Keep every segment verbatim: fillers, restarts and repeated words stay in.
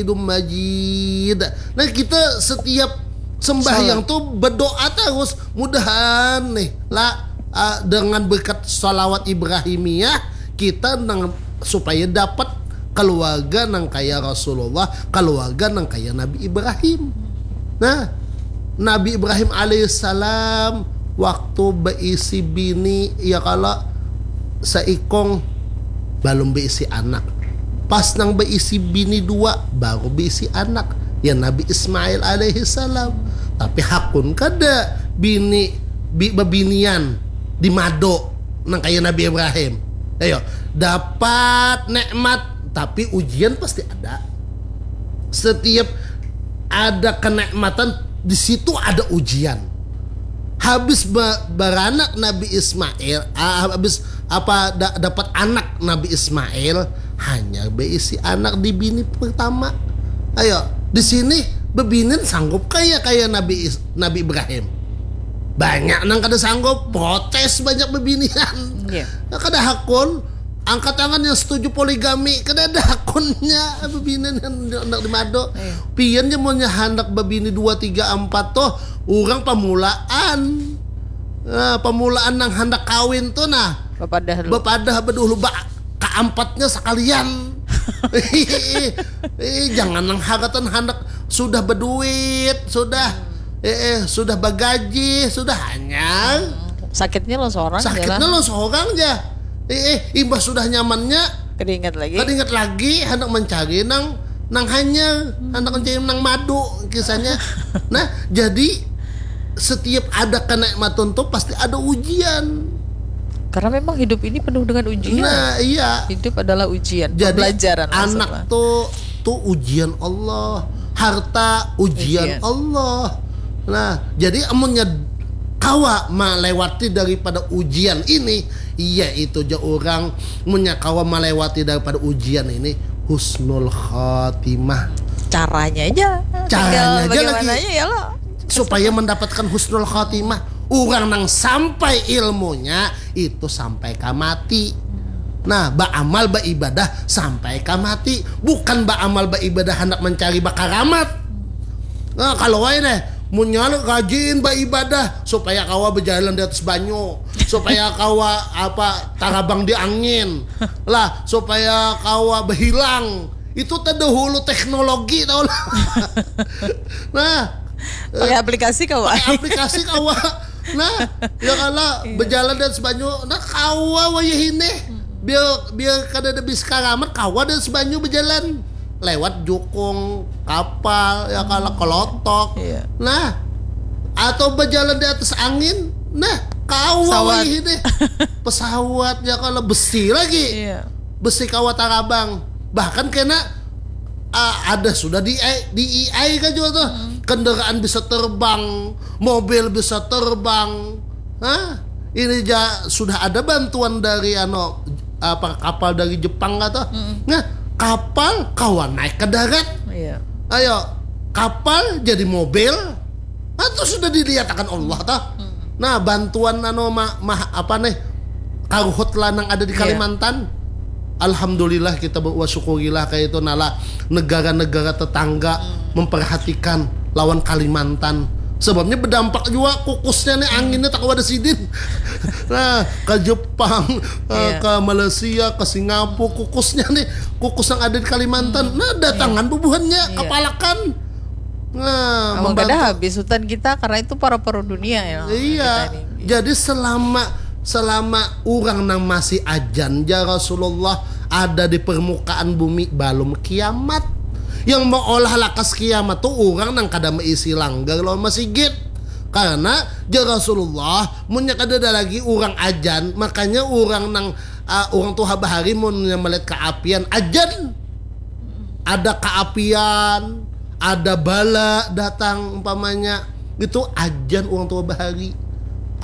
Hamidum Majid. Nah, kita setiap sembahyang tuh berdoa terus, mudahan nih lah, ah, dengan berkat salawat Ibrahimiyah, kita nang supaya dapat keluarga nang kaya Rasulullah, keluarga nang kaya Nabi Ibrahim. Nah, Nabi Ibrahim alaihissalam waktu beisi bini, ya kalau seikong, belum beisi anak. Pas nang beisi bini dua, baru beisi anak, ya Nabi Ismail alaihissalam. Tapi hakun kada bini bi, bebinian di mado nang kaya Nabi Ibrahim. Ayo, dapat nikmat, tapi ujian pasti ada. Setiap ada kenikmatan, di situ ada ujian. Habis ba, beranak Nabi Ismail, ah, habis apa da, dapat anak Nabi Ismail, hanya beisi anak di bini pertama. Ayo, di sini bebinian sanggup kaya kaya Nabi Is, Nabi Ibrahim. Banyak nang kada sanggup, protes banyak bebinian. Iya. Nah, kada hakun, angkat tangan yang setuju poligami, kada ada hakunnya bebinian yang hendak di mado. Iya. Pian ja munnya handak bebini dua tiga empat tuh, orang pamulaan. Nah, pamulaan nang handak kawin tuh nah. Bapadah lu. Bapadah bedulu ba kaampatnya sekalian. Eh, jangan nang hagatan handak sudah beduit, sudah eh, eh, sudah bagaji, sudah hanyang. Sakitnya lo seorang Sakitnya lah. Lo seorang aja. Eh, eh, imbah sudah nyamannya, Kada ingat lagi. Kada ingat lagi, hendak mencari nang nang hanyar, hendak mencari nang madu kisahnya. Nah, jadi setiap ada kenikmatan tuh pasti ada ujian. Karena memang hidup ini penuh dengan ujian. Nah, iya. Hidup adalah ujian, Jadi pembelajaran anak maksudnya. Tuh tuh ujian Allah, harta ujian, Ujian. Allah. Nah, jadi amunnya kawa melewati daripada ujian ini, iya itu ja orang, munnya kawa melewati daripada ujian ini, husnul khatimah. Caranya aja. Caranya Tinggal aja lagi. Bagaimananya ya lo. Supaya mendapatkan husnul khatimah, orang nang sampai ilmunya itu sampai ka mati. Nah, baamal baibadah sampai ka mati, bukan baamal baibadah hendak mencari bakaramat. Nah, kalau wae nih, munnya rajin baibadah supaya kawa berjalan di atas banyu, supaya kawa apa tarabang di angin, lah supaya kawa berhilang. Itu terdahulu teknologi tau lah. Nah, Pakai aplikasi kawa. Pakai aplikasi kawa. Nah, ya kalau berjalan di atas banyu, nah kawa wayah ini. Biar biar kada ada bis karamat, kawa di atas banyu berjalan lewat jukung kapal, ya kalau kelotok. Iya. Nah, atau berjalan di atas angin, nah kawa Pesawat. Wayah ini. Pesawat, ya kalau besi lagi. Iya. Besi kawa tarabang, bahkan kena ah, ada sudah di di A I kan juga tuh, kendaraan bisa terbang, mobil bisa terbang. Hah? Ini ja, sudah ada bantuan dari ano apa kapal dari Jepang kata. Nah, kapal kawan naik ke darat. Iya. Ayo, kapal jadi mobil. Nah, itu sudah dilihat akan Allah toh. Nah, bantuan ano ma, ma, apa nih? Karuhut lanang ada di Iya. Kalimantan. Alhamdulillah kita bersyukurilah kayak itu nala negara-negara tetangga memperhatikan lawan Kalimantan. Sebabnya berdampak juga kukusnya nih anginnya tak ada sidin. Nah, ke Jepang, eh, Iya. ke Malaysia, ke Singapura, kukusnya nih kukus yang ada di Kalimantan. Nah, datangan bubuhannya Iya. Kapalakan. Nah, Awak membantu. Kada habis hutan kita karena itu paru-paru dunia ya. Iya. Kita ini. Jadi selama selama orang nang masih ajan ja Rasulullah ada di permukaan bumi, belum kiamat. Yang meolah lakas kiamat tuh orang nang kada meisi langgar lawan masigit. Karena ja Rasulullah, munnya kada ada lagi orang ajan, makanya orang nang ah, orang tuha bahari munnya melihat keapian ajan. Ada keapian, ada bala datang umpamanya, itu ajan orang tua bahari.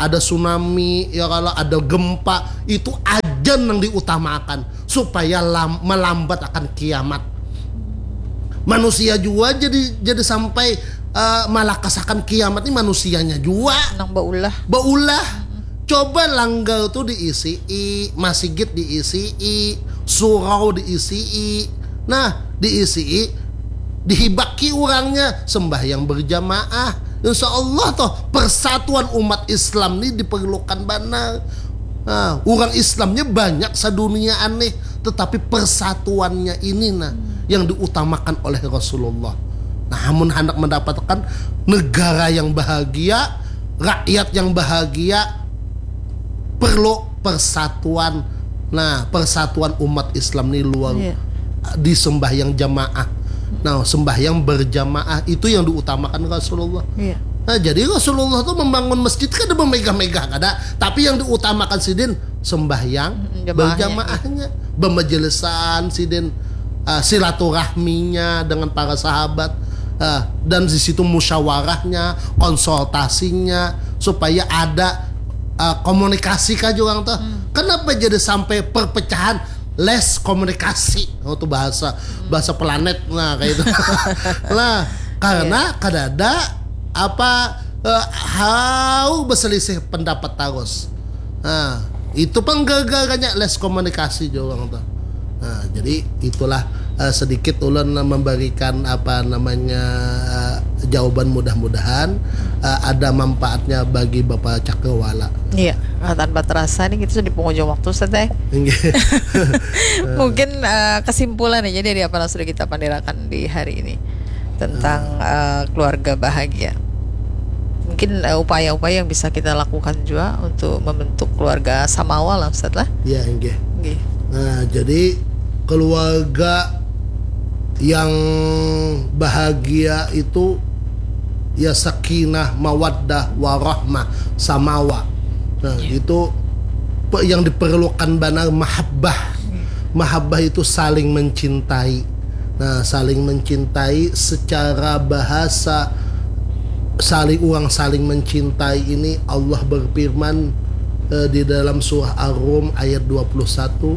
Ada tsunami, ya kalau ada gempa, itu ajan yang diutamakan supaya lam, melambat akan kiamat. Manusia jua jadi jadi sampai eh, malakasakan kiamat ini manusianya jua. Nang baulah. Baulah. Coba langgar tuh diisi, masigit diisi, surau diisi. Nah, diisi. dihibaki urangnya, sembahyang berjamaah. Insya Allah toh, persatuan umat Islam ni diperlukan banar. Nah, urang Islamnya banyak sadunia aneh, tetapi persatuannya ini nah yang diutamakan oleh Rasulullah. Nah, amun hendak mendapatkan negara yang bahagia, rakyat yang bahagia, perlu persatuan. Nah, persatuan umat Islam ni luar Iya. di sembahyang jamaah. Nah, sembahyang berjamaah itu yang diutamakan Rasulullah. Iya. Nah, jadi Rasulullah tuh membangun masjid kada memegah-megah kada, tapi yang diutamakan sidin sembahyang Mm, jamaahnya. Berjamaahnya, bermajelisan sidin, uh, silaturahminya dengan para sahabat, uh, dan di situ musyawarahnya, konsultasinya supaya ada uh, komunikasi kah juga tuh. Kenapa jadi sampai perpecahan? Less komunikasi. Oh, tuh bahasa bahasa planet nah kayak itu. Nah, karena kada ada apa eh, hau berselisih pendapat terus. Nah, itu penggagalnya less komunikasi juga tuh. Nah, jadi itulah eh, sedikit ulun memberikan apa namanya eh, jawaban, mudah-mudahan eh, ada manfaatnya bagi Bapak Cakrawala. Iya, nah, tanpa terasa nih kita sudah di penghujung waktu, Ustaz, eh. Inggih. Mungkin eh, kesimpulan aja dari apa yang sudah kita pandirakan di hari ini tentang eh, keluarga bahagia. Mungkin eh, upaya-upaya yang bisa kita lakukan juga untuk membentuk keluarga samawa lah, Ustaz lah. Ya, inggih. Nggih. Nah, jadi keluarga yang bahagia itu ya sakinah, mawaddah, warahmah, samawa. Nah, itu pe- yang diperlukan banar mahabbah. Mahabbah itu saling mencintai. Nah, saling mencintai secara bahasa saling, uang saling mencintai ini Allah berfirman eh, di dalam surah Ar-Rum ayat dua puluh satu,